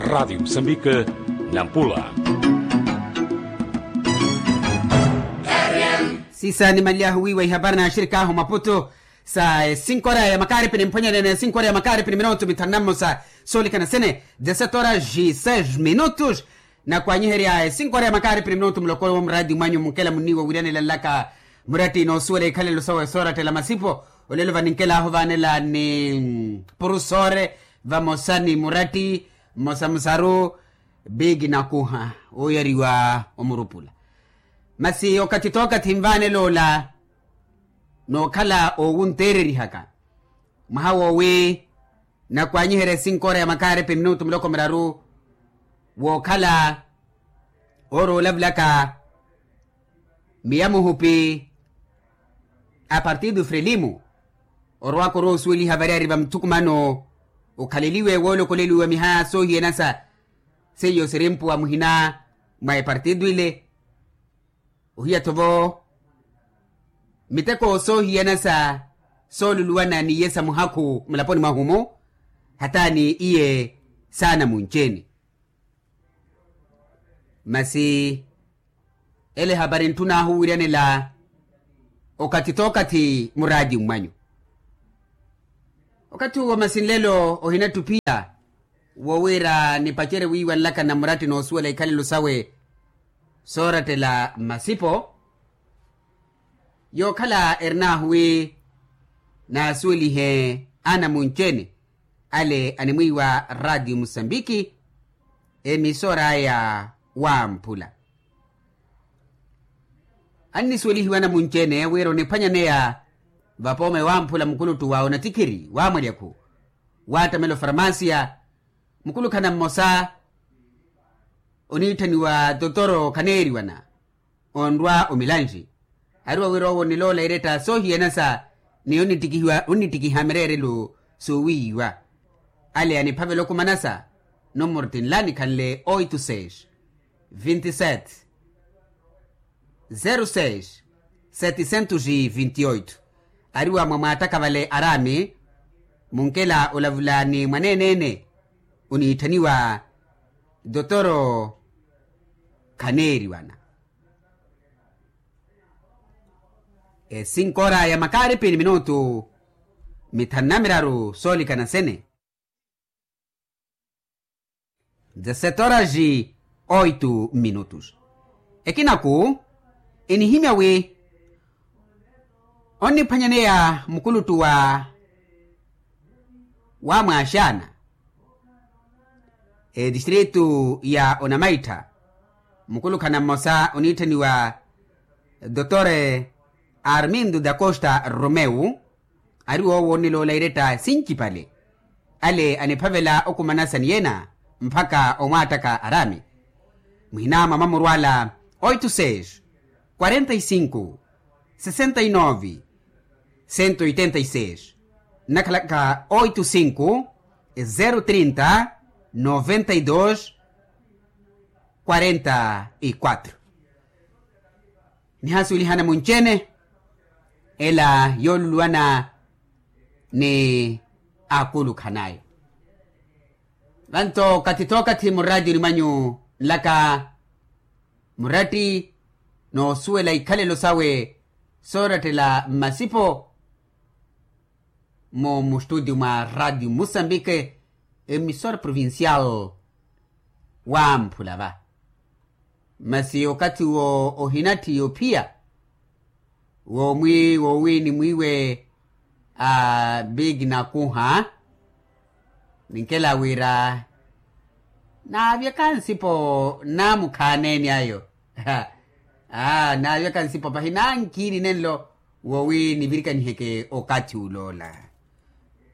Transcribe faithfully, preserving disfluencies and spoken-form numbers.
Radiyo musambike, nampula. Sisa nimalyahu wiiwa ihapari na axirikaahu maputu sa esinkora ya makaripi ni mphwanyanene esinkora ya makaripi ni minutu mithanu na mmosa. Soolikana sene desetora ji seis minutus. Nakwanyiherya esinkora ya makaripi ni minutu mulokolo wa muradi mwanyu munkela munniiwa wiranela nlaka muratti noosuwela ikhalelo sawe soorattela masipo. Olelo vaninkelahu vaanela ni purusore vamosa ni muratti mmosa musaru biki nakuha oyariwa omurupula. Masi okathi tookathi nvaanela ola nookhala owunteererihaka mwaha woowi nakwanyiherya esinkora ya makaripi minutu muloko miraru wookhala oora olavulaka miya muhupi a partidu frelimu orowaka oroosuweliha variyari va muthukumano okhaleliwe woolokoleliwa miha soohiyanasa seiyo sirimpuwa muhina mwa epartidu ile. Ohiya-tho vo miteko soohiyana sa sooluluwana ni iye sa muhakhu mulaponi mwahu-mu hata ni iye saana munci-ene. Masi ele ehapari ntthunaahu wiiranela okathi tookathi muraati mmwanyu. Okathi uwo masi nlelo ohinattuphiya wo wira nipacerye wiiwa nlaka na muratti noosuwela ikhalelo sawe soorattela mmasipo. Yookhala erinaahu wi naasuwelihe anamunci-ene ale animwiiwa ratiyo musambiki emisora aya wamphula. Annisuwelihiwa anamunci-ene wira oniphwanyaneya vapooma ewamphula mukuluttu wa onatikhiri wa mwalyakhu wattamela ofarmasiya. Mukulukhana mmosa oniitthaniwa totoro khaneeriwana onrwa omilanxi. Ariwa wira owo oniloola iretta soohiyana sa ni onittikihiwa onittikiha mireerelo soowiiwa. Ale aniphavela okumanasa numoro tinla nikhanle oito seis vinte e sete zero seis setecentos e vinte e oito. Ariwa mwa mwaattaka vale araami munkela olavula ni mwaneene-ene oniitthaniwa dotoro khaneeriwana. Esinkora ya makaaripi ni minutu mithanu na miraru soolikana sene. Dezessete horas e oito minutos. Ekinaku enihimya wi onniphwanyaneya mukuluttu wa wamwaaxaana etistritu ya onamaittha mukulukhana mmosa oniitthaniwa dotore armindo da costa romeu. Ari woowo onniloola iretta sincipale ale aniphavela okumanasa ni yena mpakha omwaattaka araami. Muhina mwa mamurwala oito seis quarenta e cinco sessenta e nove cento e oitenta e seis nnakhalaka oito cinco zero trinta noventa e dos quarenta e quatro. Nihasuwelihana munci-ene ela yooluluwana ni akulukhanayo. Vanto okathi tookathi muraatiyoni mwanyu nlaka muratti noosuwela ikhalelo sawe soorattela mmasipo. Mmo mustutio mwa ratio musambike emisora provincial wamphula va. Masi okathi wo ohinatthi yophiya womwi wowi ni mwiiwe a big nakuha ninkela wira naavyaka nsipo namukhaneeni ayo. Aa naavyaka nsipo pahi nankiini nenlo wowi nivirikaniheke okathi uloola.